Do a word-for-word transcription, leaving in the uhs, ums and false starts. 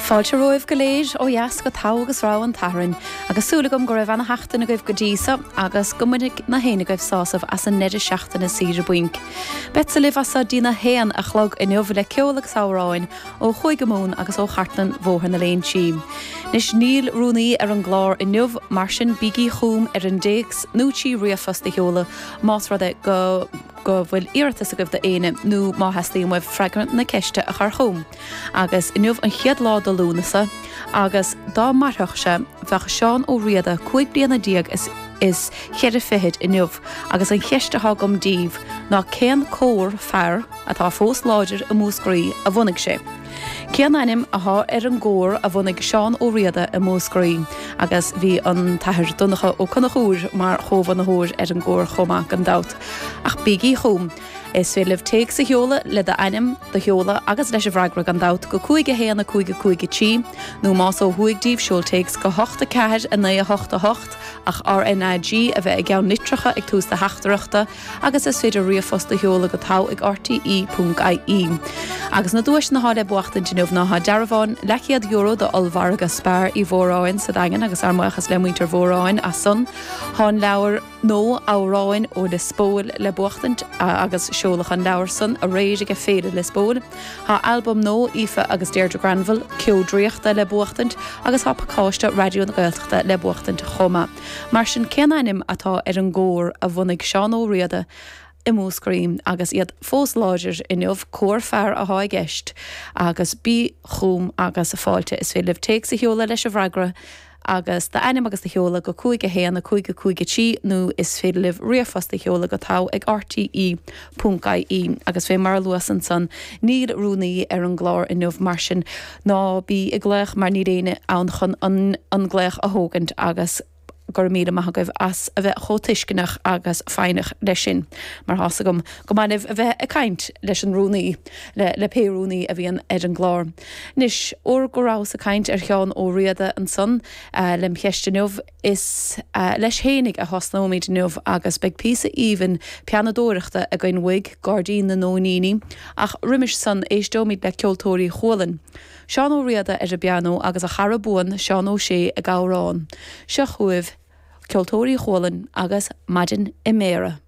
Fáilte romhaibh go léir ó dheas go Togha agus Rogha an tSathairn, agus súil agam go raibh ana-sheachtain agaibh go dtí so agus go mbainfidh na héinne agaibh sásamh as an ndeireadh seachtaine saoire bainc. Beadsa libh as so dtína haon a chlog inniu le ceol agus amhráin ó Chúige Mumhan agus ó chartlann Bhóthar na Léinsí. Anois níl rúnaí ar an gclár inniu, mar sin bígí chugam ar an dtéacs nó trí ríomhphost a sheoladh más rud é go go bhfuil iarratas agaibh do éinne nó má theastaíonn uaibh freagra na ceiste a chur chugam. Agus inniu an chéad lá de Lúnasa agus dá mairfeadh sé bheadh Seán Ó Riada cúig bliana déag is is cheithre fichid inniu agus an cheist atá agam daoibh ná cén cór fear atá fós láidir i Múscraí a bhunaigh sé. Cén ainm atá ar an gcór a bhunaigh Seán Ó Riada i Múscraí agus bhí an tAthair Donncha Ó Conchúir mar chomhbhunaitheoir ar an gcór chomh maith gan dabht. Ach bígí chugam. Is féidir libh téacs a sheoladh le d'ainm, do sheoladh agus leis an bhfreagra gan dabht go cúig a haon a cúig a cúig a trí, nó más ó thuaidh díbh seol téacs go hocht a ceathair a naoi a hocht a hocht ach RNAG a bheith i gceann litreacha ag tús do theachtaireachta agus is féidir ríomhphost a sheoladh go togha ag rte ponc ie. Agus na duaiseanna atá le buachtaint inniu ná tá dearbhán leathchéad euro do ollmhargadh Spar Uí Mhóráin sa Daingean agus ár mbuíochas le muintir Mhóráin as san. Tá an leabhar nó Amhráin ó Lios Póil le buachtaint agus seoladh an leabhar san aréir ag Féile Lios Póil. Tá albam nó Aoife agus Deirdre Granville, Ceo Draíochta le buachtaint agus tá pacáiste Raidió na Gaeltachta le buachtaint chomh maith. Mar sin cén ainm atá ar an gcór a bhunaigh Seán Ó Riada i Múscraí agus iad fós láidir inniu cór fear atá i gceist agus bí chugam agus fáilte is féidir libh téacs a sheoladh leis an bhfreagra agus d'ainm agus do sheoladh go cúig a haon a cúig a cúig a trí nó is féidir libh ríomhphost a sheoladh go togha ag rte ponc ie agus fé mar a luas ansan níl rúnaí ar an gclár inniu mar sin ná bí ag glaoch mar níl éinne ann chun an an glaoch a thógaint agus go raibh míle maith agaibh as a bheith chomh tuisceanach agus foighneach leis sin mar tá's agam go maith libh a bheith ag caint leis an rúnaí le le pé rúnaí a bhíonn ar an gclár. Anois óir go rabhas ag caint ar Sheán Ó Riada ansan uh, lem cheist inniu is uh, leis fhéinig a thosnóimid inniu agus beidh píosa aoibhinn pianadóireachta againn uaidh Gairdín na Nóiníní ach roimis san éisteoimid le Ceoltóirí Chualann. Seán Ó Riada ar an bpianó agus a chara buan Seán Ó Sé ag amhrán. Seo chugaibh Ceoltóirí Chualann agus Maidin i mBéarra.